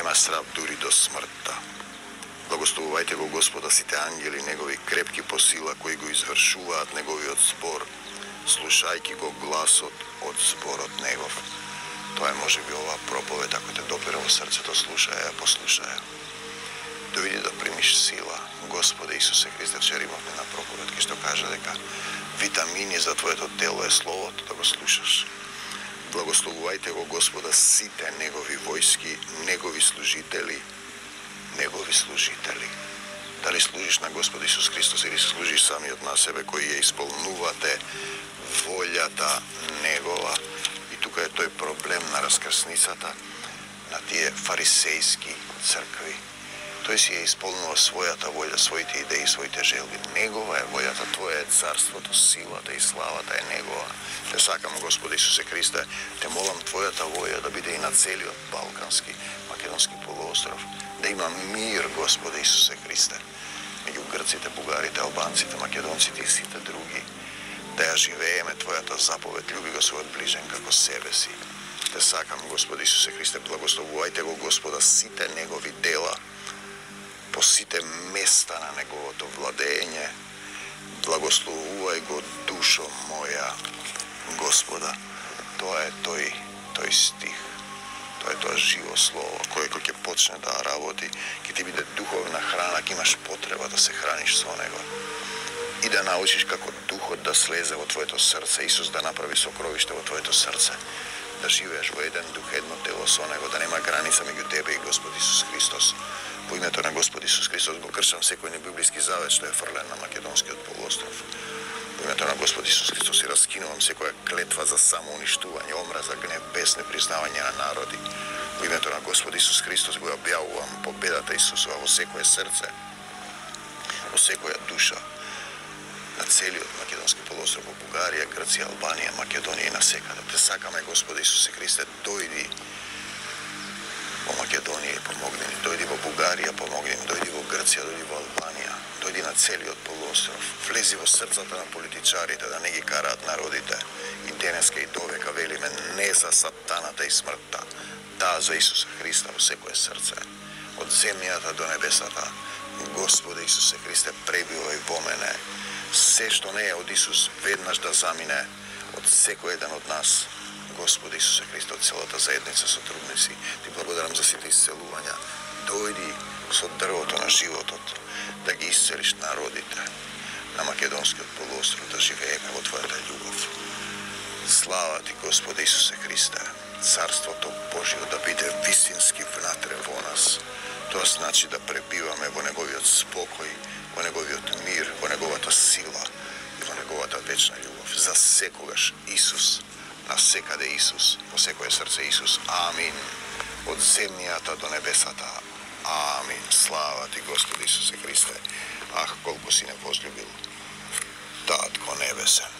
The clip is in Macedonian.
нема страв дури до смртта. Благословувајте го Господа сите ангели, негови крепки по сила, кои го извршуваат неговиот збор, слушајќи го гласот од зборот негов. Тоа е можеби оваа проповед, ако те допира во срцето, слушај ја, послушај ја. Дојди да примиш сила. Господе Исусе Христе, вчера имавме на проповед, кај што кажа дека витамини за твоето тело е словото, да го слушаш. Благословувајте го Господа сите негови војски, негови служители. Дали служиш на Господ Исус Христос или служиш самиот на себе, кои ја исполнувате волјата негова. И тука е тој проблем на раскрсницата, на тие фарисејски цркви. Тој си ја исполнува својата волја, своите идеи, своите желби. Негова е волјата, Твоја е царството, силата и славата е Негова. Те сакам, Господи Исусе Христе, те молам Твојата волја да биде и на целиот Балкански, Македонски полуостров. Да има мир, Господи Исусе Христе, меѓу грците, бугарите, албанците, македонците и сите други. Да ја живееме Твојата заповед, љуби го својот ближен како себе си. Те сакам, Господи Исусе Христе, благословувајте го Господа сите негови дела, по сите места на неговото владење. Благословувај го душо моја, Господа. Тоа е тој стих. Тоа е тоа живо слово, кое кој ќе почне да работи, ќе ти биде духовна храна, ќе имаш потреба да се храниш со него. И да научиш како духот да слезе во твоето срце, Исус да направи сокровиште во твоето срце, да живееш во еден дух, едно тело со него, да нема граница меѓу тебе и Господ Исус Христос. Во името на Господ Исус Христос го кршам секој небиблиски завет што е фрлен на Македонскиот полуостров. Во името на Господ Исус Христос и раскинувам секоја клетва за самоуништување, омраза, гнев, без непризнавање на народи. Во името на Господ Исус Христос го објавувам победата Исусова во секое срце, во секоја душа, на целиот Македонски полуостров, во Бугарија, Грција, Албанија, Македонија и насекаде. Те сакаме, Господи Исусе Христе, дојди во Македонија и помогни ни, дојди во Бугарија, помогни ни, дојди во Грција, дојди во Албанија, дојди на целиот полуостров, влези во срцата на политичарите да не ги караат народите. И денеска и довека велиме не за сатаната и смртта, да за Исуса Христа во секое срце, од земјата до небесата. Господе Исусе Христе, пребивај во мене. Се што не е од Исус веднаш да замине од секој еден од нас. Господи Исусе Христе, од целата заедница сотрудници, ти благодарам за сите исцелувања. Дојди со дрвото на животот, да ги исцелиш народите на Македонскиот полуостров, да живееме во Твојата љубов. Слава Ти, Господи Исусе Христе, Царството Божјо да биде вистински внатре во нас. Тоа значи да пребиваме во Неговиот спокој, во Неговиот мир, во Неговата сила и во Неговата вечна љубов. За секогаш Исус, навсекаде Исус, во секое срце Исус. Амин. Од земјата до небесата. Амин. Слава Ти, Господи Исусе Христе. Ах, колку си не возлюбил Татко небесен.